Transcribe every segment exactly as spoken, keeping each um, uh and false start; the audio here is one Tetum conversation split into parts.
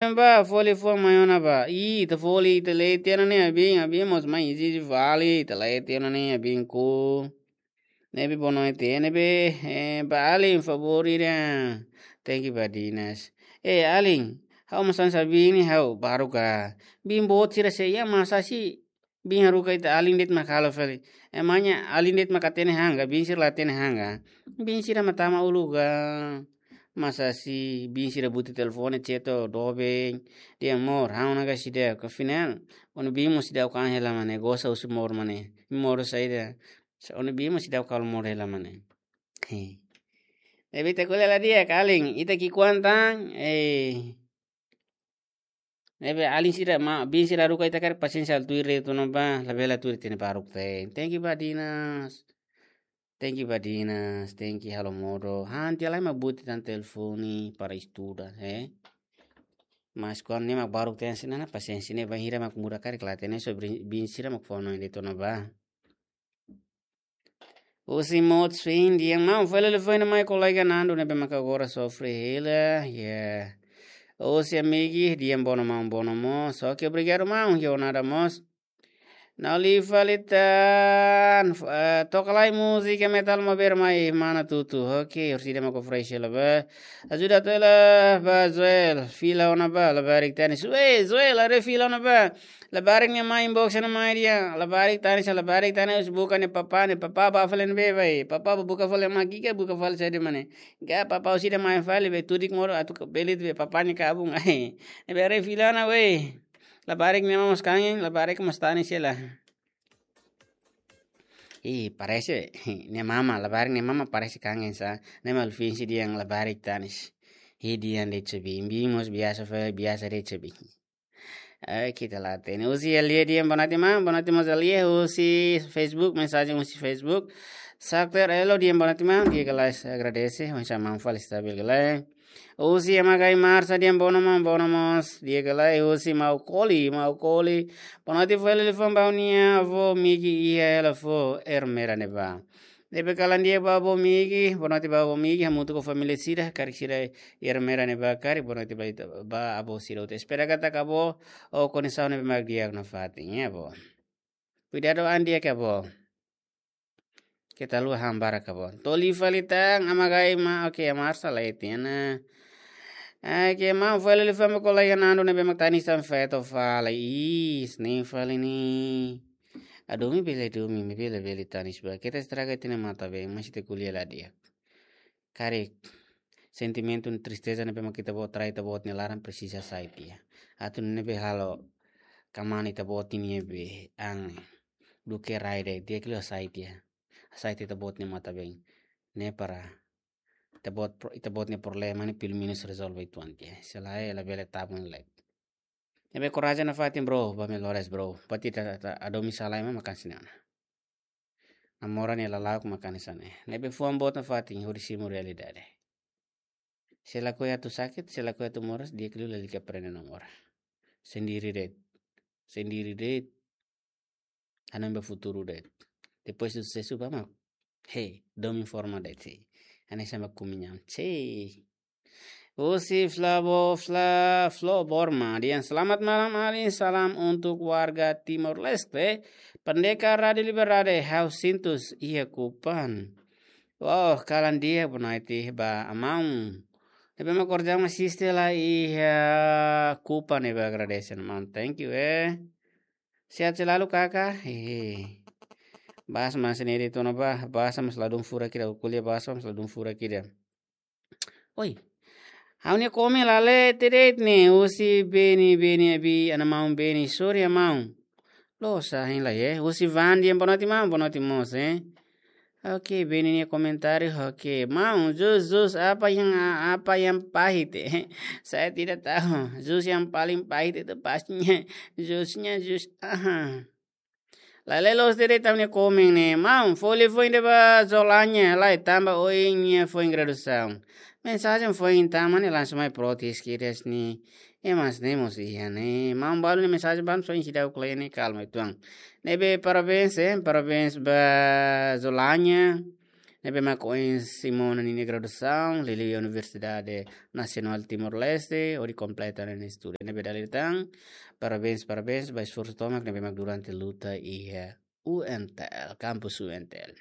Ba, fó liafuan mai ona ba. Ih, ita fó liafuan, ita lee tiha ona ne'e, abin, abin mós mai izizi fali, ita lee tiha ona ne'e, abin ku. Ne'ebé boa noite, ne'ebé, eh, ba alin favór ida. Thank you, ba Dinas. Eh, alin, ha'u mós hanesan biin ne'e ha'u baruk ka. Biin boot sira sei iha masa si. Biin haruka ita alin de'it mak halo fali. Emangnya alin de'it mak hatene han ka, biin sira la hatene han ka. Biin sira mak tama uluk ka. Masa si biin sira buti telefone chat doben. Dehan amor, ha'u ona ka seidauk, afinál. Ó-nia biin mós seidauk kan hela mane, gosta husi amor mane. Amor saida. Sa ó-nia biin mós seidauk halo amor hela mane. He. Ne'ebé ita ko'alia la di'ak, alin, ita ki'ikoan tan, eh. Ne'ebé alin sira mak, biin sira haruka ita karik pasiénsia atu tuir de'it ona ba, labele atu tuir tiha ne'e baruk tan. Thank you, ba Dinas. Thank you, ba Dinas. Thank you, halo modo. Han tiha lai mak buti tan telefone para estuda, eh. Mas kuandu ne'e mak baruk tan sira-nia pasiénsia ne'e bainhira mak muda karik la hatene, so biin, biin sira mak fó hanoin de'it ona ba. Husi Mot Swin dehan maun, fó liafuan mai kolega Nando ne'ebé maka agora sofre hela, ya. Husi Amigi dehan boa noite maun, boa noite mós. Oke, obrigadu maun, jornada mós. Nau li fali tan, eh, toka lai múzika metal maubere mai mana tutu. Oke, orsida maka fresh hela ba. Ajuda atu hela ba Joel, fila ona ba, labarik tanis. Weh, Joel, haree fila ona ba. Labarik nia mai inbox ona mai dehan, labarik tanis, labarik tanis, buka nia papá, nia papá ba fali ne'ebé bá. Papá ba buka fali mak ki'ik, buka fali saida mane. Ka papá orsida mai fali bá, tudik moro atu bele de'it bá papá nia kabun ai. Ne'ebé haree fila ona weh. Labarik nia mamá mós kangen, labarik mós tanis hela. Ih, parese, nia mamá, labarik nia mamá parese kangen sa. Ne'e mak fingsi dehan labarik tanis. Ih, dehan de'it biin, biin mós biasa fali, biasa de'it biin. Oke, ita la hatene. Husi Elie dehan boa noite maun, boa noite mós Elie, husi Facebook, mensajen husi Facebook. Sakter Elo dehan boa noite maun, di'ak ka lae, agradese, oinsá maun fali, stabil ka lae. Husi Amagai Marsa dehan boa noite maun, boa noite mós, di'ak ka lae. Husi Maukoli, Maukoli. Boa noite, fó liafuan ba ha'u-nia avó Migi iha hela fó Ermera ne'ebá. Ne'ebé kalan di'ak ba avó Migi, boa noite ba avó Migi, hamutuk ho família sira, karik sira iha Ermera ne'ebá karik, boa noite ba ita, ba avó sira hotu. Espera katak avó ho kondisaun ne'ebé mak di'ak nafatin, ya avó. Kuidadu an di'ak ka avó. Keta haluha han barak ka avó. To'o li fali tan, Amagai ma, oke, Marsa la iha tiha ona. Oke, maun, fó liafuan ba kolega Nando ne'ebé mak tanis tan feto fali. Ih, ne'e fali ne'e. Hadomi bele hadomi, maibé labele tanis ba. Keta estraga ita-nia matan-been, mas ita ko'alia la di'ak. Karik sentimentu tristeza ne'ebé mak ita-boot rai ita-boot nia laran presiza hasai tiha. Atu ne'ebé halo kmaan ita-boot nia be ang duke rai de'it, di'ak liu hasai tiha. Hasai tiha ita-boot nia matan-been. Ne'e para ita-boot pro-, ita-boot nia problema ne'e pelumenus rezolve uitoan tiha. Se lae, labele tabun lai. Ne'ebé korajen nafatin bro, ba melhoras bro. Buat ida ita, ita hadomi sala ema mak hanesan ne'e ona. Namora nia lala'ok mak hanesan ne'e. Ne'ebé fuan boot nafatin hodi simu realidade. Se lakohi atu sakit, se lakohi atu moras, di'ak liu lalika aprende namora. Sendiri de'it. Sendiri de'it. Hanoin ba futuru de'it. Depois de susesu bá mak, hei, domin forma de'it sei. Hanesan ba kumiñam sei. Husi Flavo, Fla, Flo Borma. Dehan selamat malam alin, salam untuk warga Timor Leste. Pendekar Rádio Liberdade, ha'u sintus iha Kupang. Wow, kalan di'ak, boa noite ba maun. Ne'ebé mak korjang mak asiste lai iha Kupang ne'ebá, agradese maun. Thank you, eh. Sehat selalu, kaka. Hehe. Bahasa mós ne'e de'it ona ba, bahasa mós ladún furak ida, ko'alia bahasa mós ladún furak ida. Oi. Ha'u-nia komen la lee tiha de'it ne'e, husi Beni, Beni Abi, ana maun Beni, sorry ya maun. Loos, hein lai eh. Husi Van dehan boa noite maun, boa noite mós eh. Oke, Beni nia komentáriu, oke. Maun, jus, jus apa yang, apa yang pahit eh? Saya tidak tahu. Jus yang paling pahit itu pastinya jusnya jus, aha. La lee loos tiha de'it ita-nia komen ne'e. Maun, fó liafuan ida ba Zolanya, lae tanba ohin nia foin graduasaun. Mensajen foin tama ne'e langsung mai protes kedas ne'e. Eh, mas ne'e mós iha ne'e. Maun, balu nia mensajen balu soin seidauk lee ne'e, kalma uitoan. Ne'ebé parabéns, eh, parabéns ba Zolanya. ne'ebé mak ohin simu ona ninia graduasaun, liuliu iha Universidade Nasionál Timor-Leste, hodi kompleta ninia estudu. Ne'ebé dala ida tan, parabéns, parabéns, ba esforsu tomak ne'ebé mak durante luta iha U N T L, kampus U N T L.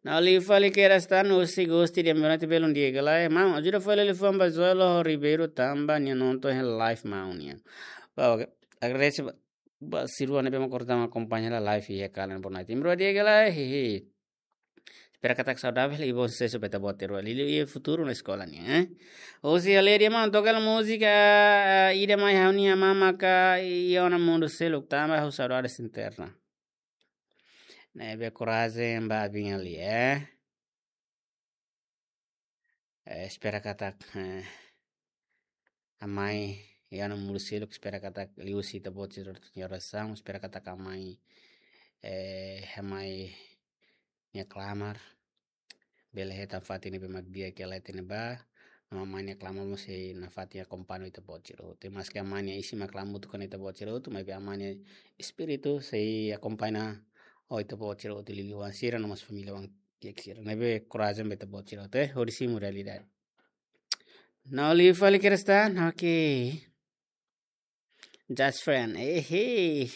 Ha'u liu fali kedas tan, husi Gusti, di'ak, boa noite, belun di'ak ka lae. Maun, ajuda fali liafuan ba Joel Ribeiro tanba nia nonton hela live maun nian. Ba, oke. Agradese ba, ba sira ne'ebé mak ohin tama akompaña hela live iha kalan, boa noite. Imro di'ak ka lae, hehe. Espera katak saudável i bom susesu ba ita-boot sira. Liuliu iha futuru no eskola nian, eh. Husi Aleria maun, toka hela múzika, eh, ida mai ha'u-nia amá maka iha ona mundu seluk tanba ha'u saudades eterna. Ne'ebé korajen ba abin ali, eh. Eh, espera katak, eh, amá iha ona mundu seluk, espera katak liuhusi ita-boot sira-nia orasaun, espera katak amá, eh, amá nia klamar bele hetan fatin ne'ebé mak di'ak ka lae iha ne'ebá, no amá nia klamar mós sei nafatin akompaña ita-boot sira hotu. Maski amá nia isin mak la hamutuk ho ita-boot sira hotu, maibé amá nia espíritu sei akompaña ita-boot sira hotu, liuliu oan sira no mós família oan kiak sira. Ne'ebé korajen ba ita-boot sira hotu, eh, hodi simu realidade. Ha'u liu fali kedas tan, oke. Just friend, eh, hey.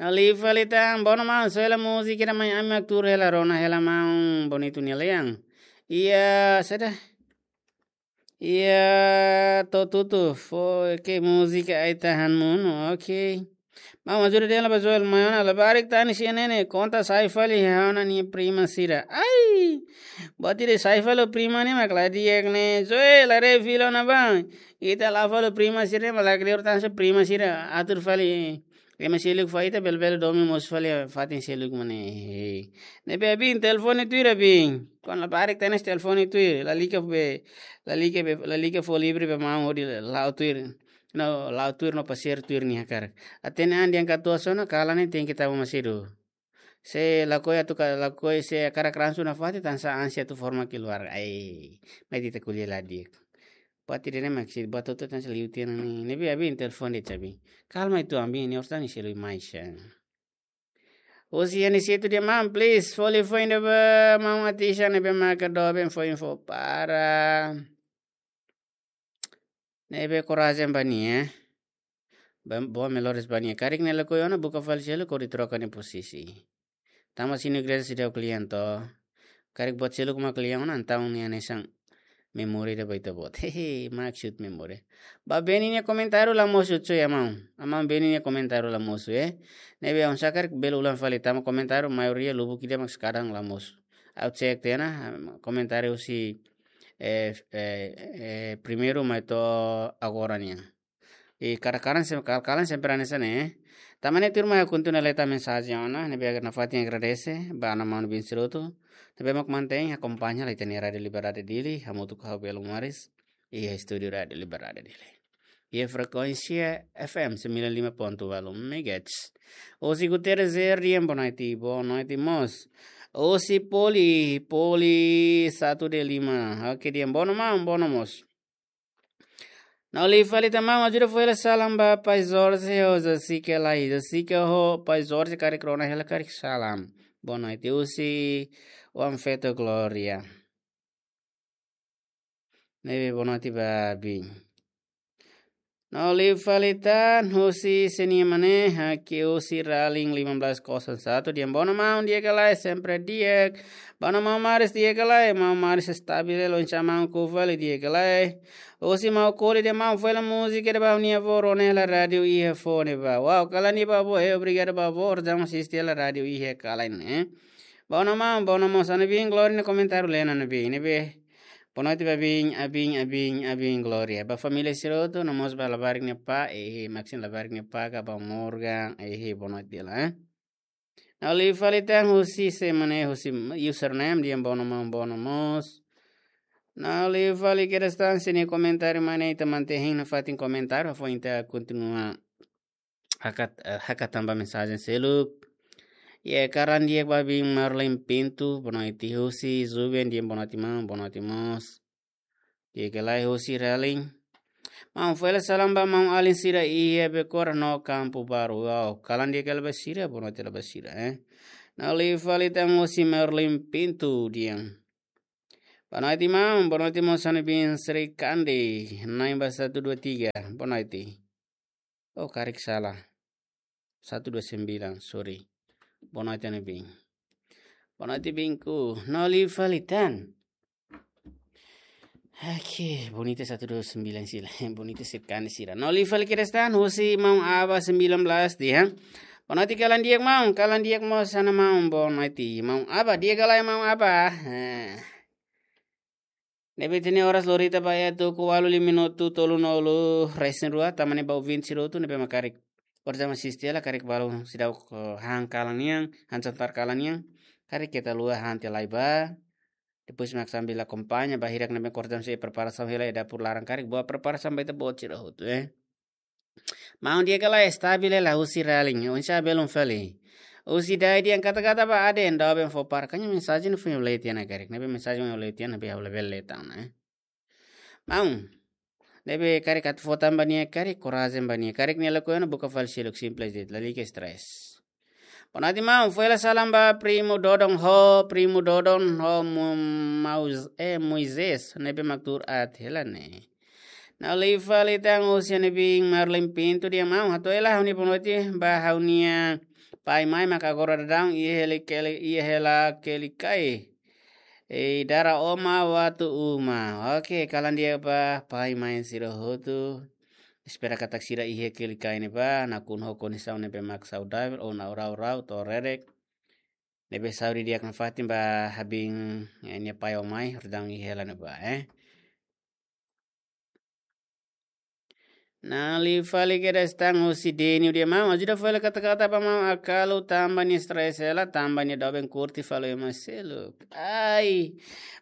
Ha'u liu fali tan, bono maun, soe hela múzika ida mai ami mak tuur hela, rona hela maun Bonito nia lean. Iha, saida? Iha To'o Tutu, fó, oke, múzika Ai Tahan Monu, oke. Maun, ajuda dehan ba Joel mai ona, labarik tan ne'e, sira ne'e konta sai fali ha'u-nia prima sira. Ai! Buat ida sai fali prima ne'e mak la di'ak ne'e. Joel, haree fila ona bá. Ita la'o fali prima sira ne'e, mak la kleur tan, se prima sira atur fali. Ema seluk fali, ita bele-bele domin mosu fali fatin seluk mak ne'e. Ne'ebé abin, telefone tuir abin. Kuandu labarik tan ne'e telefone tuir. Lalika be, lalika be, lalika fó livre ba maun hodi la'o tuir. No, la'o tuir no pasiar tuir nia hakarak. Hatene an dehan katuas ona, kalan ne'e tenke tama masedu. Se lakohi atu ka, lakohi se hakarak ransum nafatin, tansá ansi atu forma keluarga. Ai, mai ita ko'alia la di'ak. Buat ida ne'e mak sei buat hotu tan sei liu tiha ona ne'e. Ne'ebé abin, telefone de'it abin. Kalma atu abin, ne'e orsida nia seluk mai sa. Husi Aniceto dehan maun, please, fó liafuan ida ba maun artista ne'ebé maka doben fó info para. Ne'ebé korajen ba nia, eh. Ba, boa melhores ba nia. Karik nia lakohi ona, buka fali seluk hodi troka nia pozisi. Tanba sira-nia igreja seidauk kle'an to. Karik buat seluk mak kle'an ona, entaun nia hanesan memória ida ba ita-boot. Hehe, maksud memória. Ba Beni nia komentáriu la mosu, coy, amá. Amá, Beni nia komentáriu la mosu, eh. Ne'ebé oinsá karik bele ulang fali, tanba komentáriu maioria lubuk ida mak kadang la mosu. Ha'u cek tiha ona, komentáriu husi, eh, eh, eh, primeiru mai to'o agora nian. I kalan-kalan sem-, kal-, kalan sempre hanesan ne'e. Tanba ne'e tuirmai ha'u kontinua leta mensajen ona, ne'ebé nafatin agradese ba ana-manu bin sira hotu ne'ebé mak mantein akompaña hela ita-nia Rádio Liberdade Dili, hamutuk ho ha'u Belo Maris, iha estúdiu Rádio Liberdade Dili. Iha frekuénsia F M sembilan lima ponto walu megahertz. Husi Guterres R D M, boa noite, boa noite mós. Husi Poli, Poli satu D lima. Oke, dehan bono maun, bono mós. Ha'u liu fali tan maun, ajuda fó hela salam ba Pai Jorge, ho Jessica lai. Jessica ho Pai Jorge karik rona hela karik salam. Boa noite, husi oan feto Glória. Ne'ebé boa noite ba abin. Ha'u liu fali tan, husi sé nia maun ne'e, hakiak husi Raling lima belas kosong satu, dehan bono maun, di'ak ka lae, sempre di'ak. Bono maun Maris, di'ak ka lae, maun Maris stabil, oinsá maun Kufali, di'ak ka lae. Husi maun Koli dehan maun, fó hela múzika ida ba ha'u-nia avó, rona hela rádiu iha fone bá. Wow, kalan di'ak ba avó, eh, obrigadu ba avó, orsida asiste hela rádiu iha kalan, eh. Bono maun, bono mós, ana bin Glória nia komentáriu lee ona, ana bin, ne'ebé. Boa noite ba abin, abin, abin, abin Glória. Ba família sira hotu, no mós ba labarik nia apá, eh, Maxine labarik nia apá, ka ba Morgan, eh, boa noite de'it, eh. Ha'u liu fali tan husi sé mak ne'e, husi username, dehan bono maun, bono mós. Ha'u liu fali kedas tan, sé nia komentáriu mak ne'e, ita mantein nafatin komentáriu, foin ita kontinua hakat, eh, hakat tan ba mensajen seluk. Iha kalan di'ak ba abin Marlene Pinto, boa noite, husi Juven, dehan boa noite maun, boa noite mós. Di'ak ka lae, husi Raling. Maun, fó hela salam ba maun-alin sira iha Bekora no Kampu Baru. Wow, kalan di'ak hela ba sira, boa noite hela ba sira, eh. Nauli fali tan husi Merlin Pinto dehan. Boa noite, maun. Boa noite, maun Sanibin Sri Kandi. Nine ba satu dua tiga. Boa noite. Oh, karik sala. Satu dua sembilan, sorry. Boa noite, Sanibin. Boa noite, Binku. Nauli fali tan. Oke, bonita satu dua sembilan sira. Bonita sekali sira. Nauli fali kedas tan, husi maun Aba sembilan belas dehan. Boa noite, kalan di'ak maun, kalan di'ak mós ona maun, boa noite. Maun Aba, di'ak ka lae maun Aba. Eh. Ne'ebé ita-nia oras lorita ba iha tuku ualu lima minutu tolunulu resin rua, tanba ne'e ba ouvinte sira hotu ne'ebé mak karik. Orsida mak asiste hela karik balu seidauk, eh, han kalan nian, han jantar kalan nian. Karik keta haluha han tiha lai ba. Depois mak sambil akompaña ba hirak ne'ebé orsida sei preparasaun hela iha dapur laran karik, boa preparasaun ba ita-boot sira hotu, eh. Maun di'ak ka lae, estabil hela husi Ralin, oinsá belun fali. Husi Dai dehan katak-katak ba aden, doben fó para. Karik mensajen foin ha'u lee tiha ona karik, ne'ebé mensajen foin ha'u lee tiha ona, ne'ebé ha'u labele lee tan ona, eh. Maun, ne'ebé karik atu fó tan ba nia karik, korajen ba nia. Karik nia lakohi ona buka fali seluk, simples de'it, lalika stress. Boa noite, maun. Fó hela salam ba primu Dodon ho, primu Dodon ho Mo-, Maus-, eh, Moisés, ne'ebé mak tuur aat hela ne'e. Nauli fali tan husi Sanibin Marlin Pinto dehan maun, hato'o hela ha'u-nia boa noite ba ha'u-nia pai-mãe mak agora daudaun iha hela keli-, iha hela Kelikai. Eh, dara oma watu uma. Oke, kalan di'ak ba pai-mãe sira hotu. Espera katak sira iha Kelikai ne'ebá, nakonu ho kondisaun ne'ebé mak saudavel, ona rau-rau, to'o rerek. Ne'ebé saúde di'ak nafatin ba Abin, eh, nia pai ho mãe, daudaun iha hela ne'ebá, eh. Nauli fali kedas tan husi Denio dehan maun, ajuda fó hela katak-katak ba maun Akalu tanba nia stress hela, tanba nia doben kurti fali ema seluk. Ai,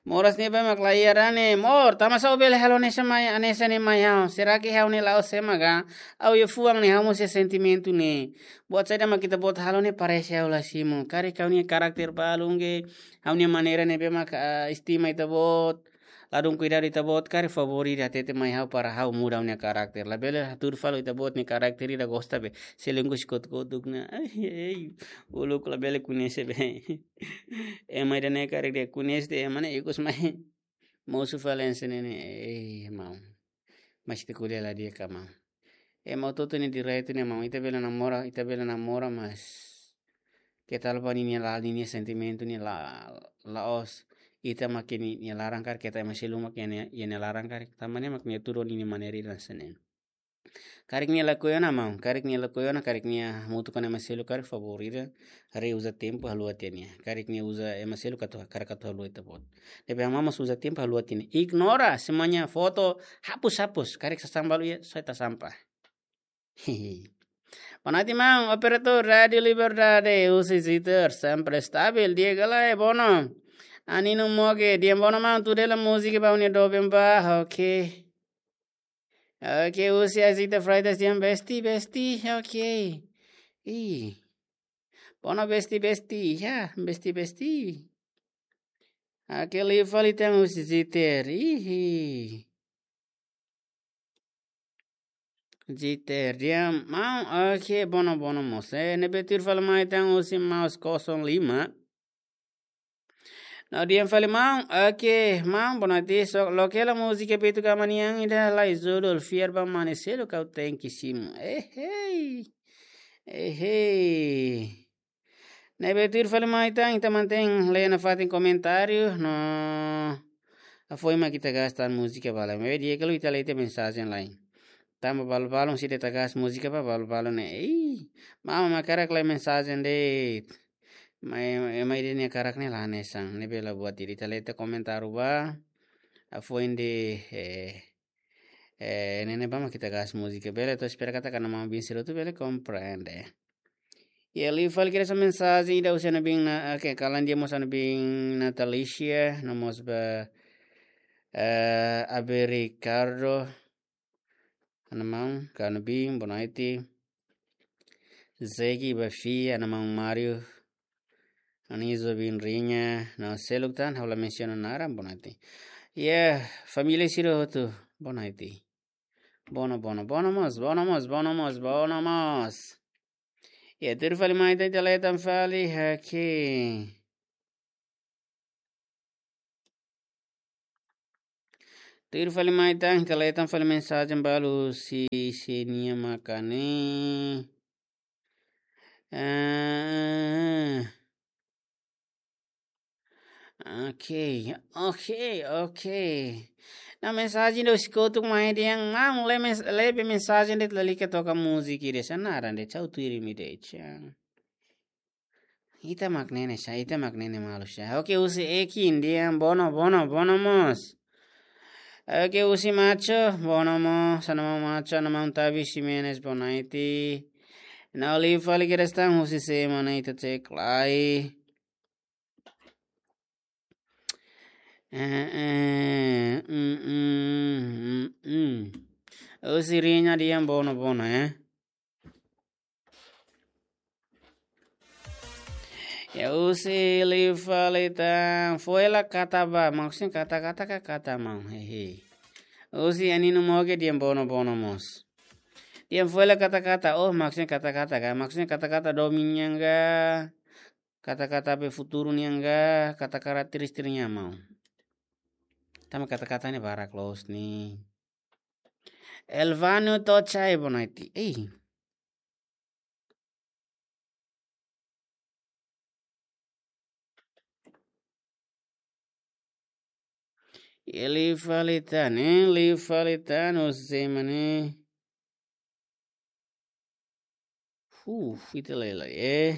moras ne'ebé mak la iha ne'e, mor, tanbasá ó bele halo hanesan mai, hanesan ne'e mai ha'u. Será que ha'u ne'e la'ós ema ka? Ha'u iha fuan ne'e, ha'u mós iha sentimentu ne'e. Buat saida mak ita-boot halo ne'e parese ha'u la simu. Karik ha'u-nia karakter balun ka, ha'u-nia maneira ne'ebé mak, ah, estima ita-boot. Ladún kuidadu ita-boot karik favór ida hatete mai ha'u para ha'u muda ha'u-nia karakter. Labele hatudu fali ita-boot nia karakter ida gosta be. Selingkuh si kotuk-kotuk ona. Ai, ai. Uluk labele koñese be. Ema ida-ne'e karik dehan koñese de'it ema ne'e ikus mai. Mosu fali hanesan ne'e. Eh, maun. Mas ita ko'alia la di'ak ka maun. Ema hotu-hotu nia direitu ne'e maun. Ita bele namora, ita bele namora mas. Keta haluha ninia la, ninia sentimentu ne'e la, la'ós. Ita mak iha ninia laran karik, keta ema seluk mak iha nia, iha nia laran karik. Tanba ne'e mak nia tuur ninia maneira ida hanesan ne'e. Karik nia lakohi ona maun, karik nia lakohi ona, karik nia hamutuk ho ema seluk karik favór ida, reuza tempu haluha tiha nia. Karik nia uza ema seluk atu, karik atu haluha ita-boot. Depois ha'u mós uza tempu haluha tiha nia. Ignora, semuanya foto, hapus, hapus. Karik sasán balu iha, só ita sampah. Boa noite, maun. Operator Rádio Liberdade, husi Ziter, sempre stabil. Di'ak ka lae, Bono. Anino Moge, dehan Bono maun, tuur hela múzika ba ha'u-nia doben ba, oke. Oke, husi Azita Freitas dehan besti, besti, oke. Ih. Bono besti, besti, ya, besti, besti. Oke, liu fali tan husi Ziter, ih. Ziter dehan maun, oke, Bono, Bono mós. Eh, ne'ebé tuir fali mai tan husi Maus kosong lima. No dehan fali maun, oke, maun, boa noite, só loke hela múzika Beto Gama nian ida lai judul Fiar ba Mane Seluk, kau tenke simu. Ehei. Ehei. Ne'ebé tuir fali mai tan, ita mantein lee nafatin komentáriu, no hafoin mak ita gasta múzika ba lai. Maibé di'ak liu ita lee tiha mensajen lai. Tanba balu-balun sei de'it gasta múzika ba balu-balun ne'e. Ih, maun mak hakarak lee mensajen de'it. Mai, mai ida-ne'e hakarak ne'e la hanesan. Ne'ebé la buat ida, ita lee tiha komentáriu ba. Hafoin de'it, eh, eh, ne'e ne'ebá mak ita gasta múzika. Bele, ita espera katak maun-bin sira hotu bele komprende. Iha liu fali kedas mensajen ida husi ha'u-nia bin na, oke, kalan di'ak mós ha'u-nia bin Natalicia, no mós ba, eh, Abe Ricardo, ha'u-nia maun, ka ha'u-nia bin, boa noite. Zegi, Bafi, ha'u-nia maun Mario, Anizo bin Rinya, no seluk tan, ha'u la mensiona naran, boa noite. Iha, família sira hotu, boa noite. Bono, Bono, Bono mós, Bono mós, Bono mós, Bono mós. Ya, tuir fali mai ita, ita leten fali, oke. Tuir fali mai ita, ita leten fali mensajen balu husi, husi nia maka ne'e. Ah, oke, oke, oke. Ne'e mensajen ida husi kotuk mai dehan, maun, lee mens-, lee be mensajen de'it, lalika toka múzika ida, sa naran de'it, sa tuir imi de'it, sa. Ita mak ne'e ne'e sa, ita mak ne'e ne'e malu sa. Oke, husi Ekin dehan bono, bono, bono mós. Oke, husi Macho, bono mós, sa nama Macho, nama Tabi Ximenes Bonaiti. Ne'e liu fali kedas tan husi sé mak ne'e, ita cek lai. Eh, eh, mm, mm, mm, mm. Husi Rinya dehan bono, bono, eh. Ya, husi liu fali tan, foin la kata ba, maksudnya kata-kata ka kata maun, hehe. Husi Anino Moge dehan bono, bono mós. Dehan foin la kata-kata, oh, maksudnya kata-kata ka, maksudnya kata-kata domin nian ka, kata-kata be futuru nian ka, kata karakterístika nian maun. Tanba kata-kata ne'e barak loos ne'e. Elvano Tochai Bonaiti. Ei. Liu fali tan, eh, liu fali tan, husi sé mak ne'e. Huh, ita lai lai, eh.